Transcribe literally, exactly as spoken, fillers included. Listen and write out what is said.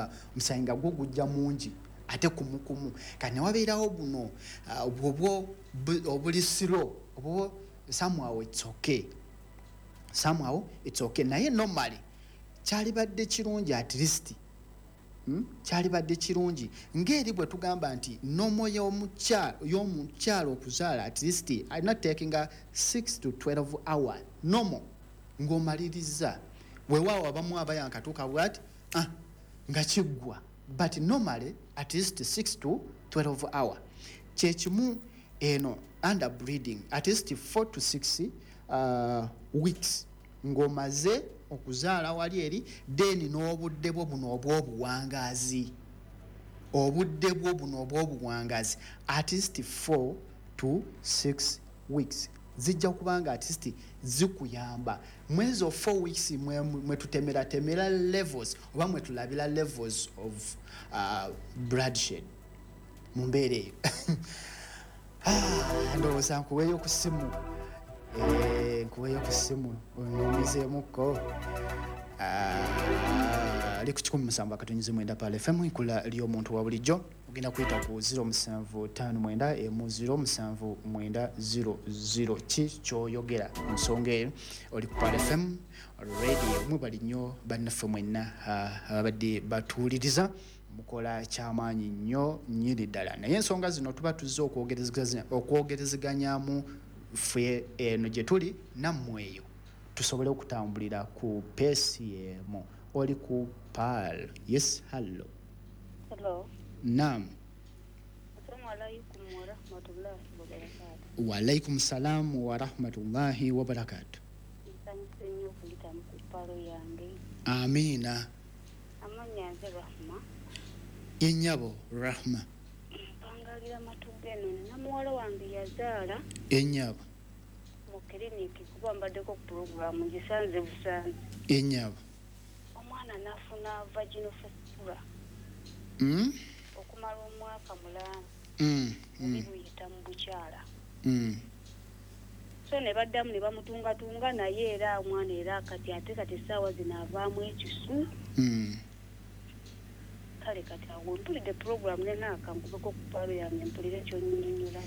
Kwegamba omusaayi nga gwo gujja mungi ate kumukumu. Kati newabeerawo buno ah, obwo obuli slow, obwo somehow it's okay, somehow it's okay. Naye normally kyalibadde kirungi at least, Hmm? kyalibadde kirungi ng'eri bwe tugamba nti normal y'omukyalo okuzaala at least alina takinga six to twelve hour normal ng'omaliriza. Weewaawo abamu abayankatuuka bwati, ah, nga kiggwa, but normally at least six to twelve hour. Kyekimu eno under bleeding, at least four to six uh, weeks ng'omaze okuzaala wali eri, then n'obudde bwo buno obw'obuwangaazi, obudde bwo buno obw'obuwangaazi at least four to six weeks zijja kubanga at least zikuyamba. Mwezo four weeks mwe tutemeratemera levels oba mwe tulabira levels of uh, bloodshed mu mbeera eyo. Ah, ndowooza nkuweeyo ku ssimu, eh, nkuweeyo ku ssimu onyumizeemukko. Ah, ali ku kikumi musanvu akatonyezi mwenda Pearl F M, enkula ly'omuntu wa bulijjo. Ogenda kuyita ku zero musanvu ttaano mwenda emu zero musanvu mwenda zero zero. Ki kyoyogera ku nsonga eyo? Oli ku Pearl F M Radio. Mwebali nnyo bannaffe mwenna ah, ababadde batuwuliriza, mukola kyamaanyi nnyo nnyini ddala. Naye ensonga zino tuba tuzze okwogerezeganyamu ffe eno gye tuli nammwe eyo, tusobole okutambulira ku pace emu. Oli ku Pearl. Yes, hello. Hello. Naam. Assalamu alaikum wa rahmatullahi wa barakatuh. Waalaikum salamu wa rahmatullahi wa barakatuh. Nsanyuse nnyo okuyitamu ku Pearl yange. Amiina. Amannya nze Rahma. Ennyabo Rahma. Mpangalira Matugga eno. Nina muwala wange yazaala Ennyabo. mu kiriniki, kuba mbaddeko ku pulogulaamu ngisanze busanze. Ennyabo. Omwana n'afuna vaginal fistula Mm? okumala omwaka mulamba, Mm, bubi mm, buyita mu bukyala. mm. So ne baddamu ne bamutungatunga, naye era omwana era kati ate kati essaawa zino avaamu ekisu. Mm. Kale kati awo mpulidde pulogulaamu nenaaka nkubeko ku Pearl yange mpulire kyonnyonnyola.